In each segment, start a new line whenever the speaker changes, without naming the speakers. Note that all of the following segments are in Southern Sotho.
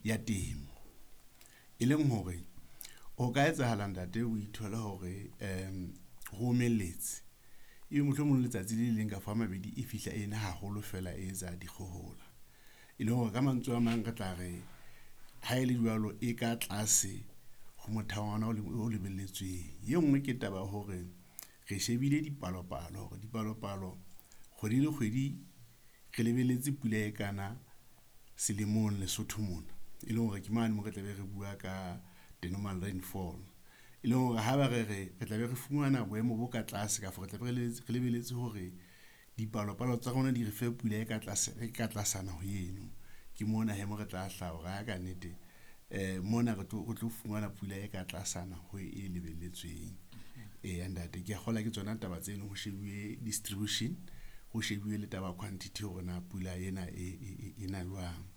ya temo. E leng hore ho ka etsahala ntate o ithole hore ho omelletse. Ebe mohlomong letsatsi le leng kapa a mabedi e fihla ena haholo fela e etsa dikgohola. E leng hore ka mantswe a mang re tla re ha e le jwalo e ka tlase ho motheo wa ona o lebelletsweng. E nngwe ke taba ya hore re shebile dipalopalo hore dipalopalo kgwedi le kgwedi re lebelletse pula e kana selemong Lesotho mona. E leng hore ke mane moo re tlabe re bua ka the normal rainfall. E leng hore ha ba re re tlabe re fumana boemo bo ka tlase kafo re tlabe re lebelletse hore dipalopalo tsa rona di re fe pula e ka tlase e ka tlasana ho eno. Ke mona hee mo re tla hlaha hore ha ka nnete mona re tlo fumana pula e ka tlasana ho e lebelletsweng. Eya ntate, ke a kgolwa ke tsona taba tseno ho shebuwe distribution, ho shebuwe le taba ya quantity hore na pula ena e na jwang.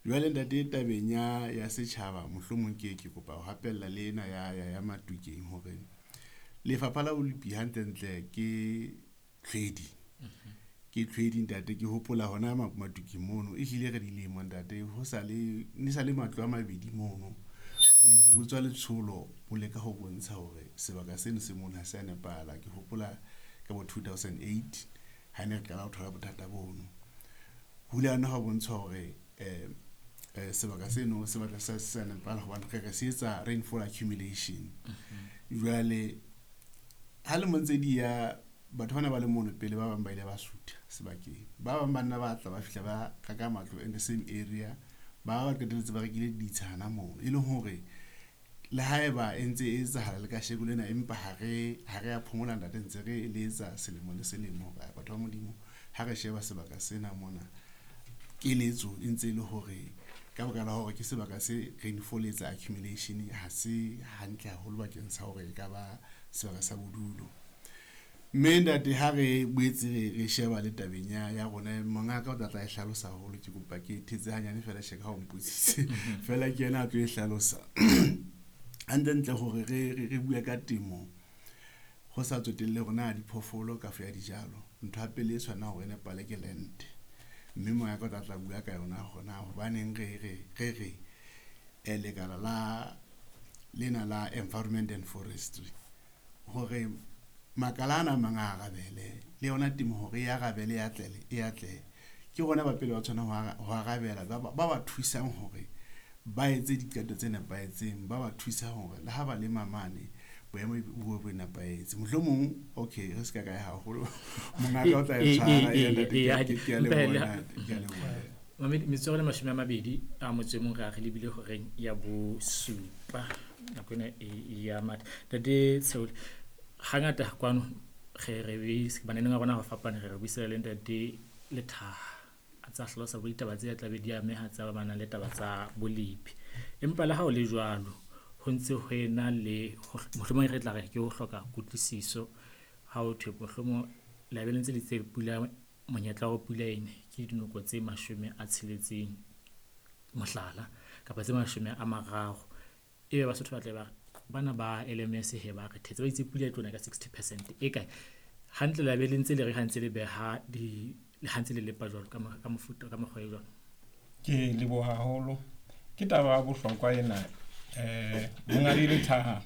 Jwale ntate tabeng ya setjhaba mohlomong ke kopa ho hapella le ena ya Matukeng hore Lefapha la Bolipi hantlentle ke tlhwedi. Ke tlhwedi ntate, ke hopola hona Matukeng mono ehlile re dilemo ntate ho sa le ne sa le matlo a mabedi mono. Bolipi bo tswa letsholo bo leka ho bontsha hore sebaka seno se mona ha se a nepahala. Ke hopola ka bo 2008 ha ne re qala ho thola bothata bono. Ho ile ha bontsha hore sebaka seno se batla se sa nepahala hobane re se etsa rainfall accumulation. Jwale ha lemo ntse di ya batho bana ba le mono pele ba bang ba ile ba sutha sebakeng. Ba bang ba nna ba tla ba fihla ba reka matlo in the same area, ba qetelletse ba rekile ditsha hana mono. E leng hore le haeba e ntse e etsahala le kasheko lena, empa ha re a phomola ntate, ntse re eletsa selemo le selemo hore batho ba Modimo ha re sheba sebaka sena mona, keletso e ntse e le hore ka baka la hore ke sebaka se rainfall e etsa accumulation ha se hantle haholo bakeng sa hore e ka ba sebaka sa bodulo. Mme ntate ha re boetse re sheba le tabeng ya rona, mongaka o tla e hlalosa haholo, ke kopa ke thetse hanyane fela tjhe ka ha o mpotsitse. Fela ke yena a tlo e hlalosa. Hantlentle hore re bue ka temo ho sa tsotelle hore na diphoofolo kafo ya dijalo, ntho ya pele e tshwanang hore e nepahale ke land. Mme mongaka o tla bua ka yona hore na hobaneng re lekala la lena la environment and forestry hore makala ana a mang a arabele le yona temo hore e arabele e atlele e atlehe. Ke rona ba pele ba tshwanang ho arabela ba thusang hore ba etse diqeto tse nepahetseng, ba ba thusa hore le ha ba lema mane boemo bo bo nepahetse. Mohlomong okay re se ka kae haholo, mongaka o tla e tshwara ya ntate, ke a leboha, ke a leboha.
Metsotso e le 20 a motso e mong re a re lebile horeng ya bosupa nako ena e ya matha. Ntate Tsheole, hangata kwano re re bananeng a rona ba fapane, re buisana le ntate Lethaha a tsa hlalosa bo ditaba tse tla be di ameha tsa ba nang le taba tsa bolipi. Empa le ha o le jwalo ho ntse ho ena le mohlomong re tla re ke ho hloka kutlwisiso ha o thwe mohlomong la be le ntse le tse pula monyetla wa pula ene ke dinoko tse 60 mohlala kapa tse 30, ebe Basotho ba tle ba re bana ba LMS he ba re thetse ba itse pula e tlo na ka 60% e kae hantle la be le ntse le re ha ntse le beha di le ha ntse le lepa jwalo ka mofuta ka mokgwa e jwalo.
Ke leboha haholo, ke taba ya bohlokwa ena. Monghadi Lethaha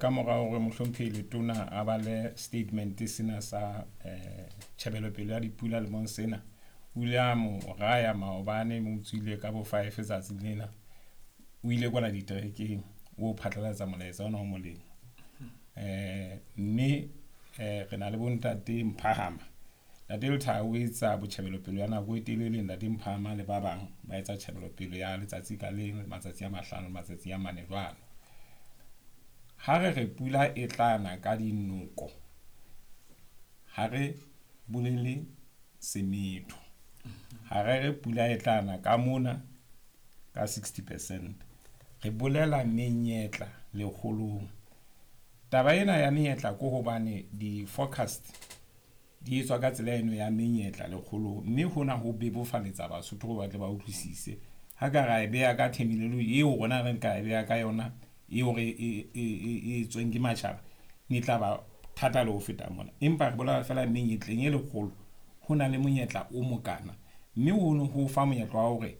ka mora hore mohlomphehi Letona a bale statement sena sa tjhebelopele ya dipula lemong sena, o ile a mo raya maobane, mo utswile ka bo 5 tsatsi lena, o ile kwana diterekeng o phatlalatsa molaetsa ona o molemo. Mme re na le bontate Mphahama. Ntate Lethaha o etsa botjhebelopele ya nako e telele, ntate Mphahama le ba bang ba etsa tjhebelopele ya letsatsi ka leng, matsatsi a 5, matsatsi a 4 jwalo. Ha re re pula e tla na ka dinoko, ha re bolele semetho. Ha re re pula e tla na ka mona ka 60%, re bolela menyetla lekgolong. Taba ena ya menyetla ke hobane di-forecast di etswa ka tsela eno ya menyetla lekgolong, mme hona ho bebofaletsa Basotho hore ba tle ba utlwisise. Ha ka ra e beha ka terminology eo rona re nka e beha ka yona eo re e tsweng ke matjhaba, ne tla ba thata le ho feta mona. Empa re bolela fela menyetleng e lekgolo ho na le monyetla o mokana, mme hono ho fa monyetla wa hore